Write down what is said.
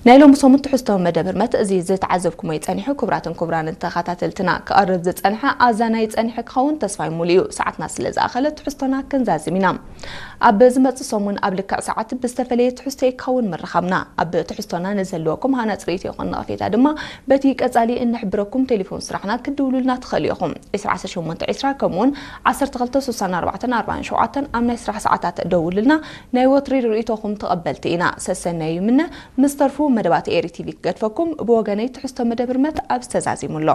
ናይ ሎሚ ሰሙን ትሕዝቶ መደብ ህርመት እዚ ዝተዓዘብኩሞ ይጸኒሑ። ክቡራትን ክቡራንን ተኸታተልትና፣ ክቐርብ ዝጸንሐ ኣዛናይ ጸኒሐ ክኸውን ተስፋይ ሙሉ እዩ። ሰዓትና ስለ ዝኣኸለ ትሕዝቶና ክንዛዝም ኢና። ኣብ ዝመጽእ ሰሙን ኣብ ልክዕ ሰዓት ብዝተፈለየ ትሕዝቶ ይከውን ምርኻብና። ኣብ ትሕዝቶና ንዘለወኩም ሃናጺ ርእይቶ ይኹን ነቐፌታ ድማ በቲ ቀጻሊ እንሕብረኩም ቴሌፎን ስራሕና ክትድውሉልና ትኽእሉ ኢኹም። ዕስራ ዓሰርተ ሸሞንተ ዕስራ ከምኡውን ዓሰርተ ክልተ ስሳን ኣርባዕተን ኣርባዓን ሸውዓተን ኣብ ናይ ስራሕ ሰዓታት ደውሉልና። ናይ ወትሪ ርእይቶኹም ተቐበልቲ ኢና። ሰሰናዩ ይምነ። ምስ ተርፉ መደባት ኤሪ ቲቪ ክገድፈኩም ብወገነይ ትሕዝቶ መደብ ህርመት ኣብዚ ተዛዚሙ ኣሎ።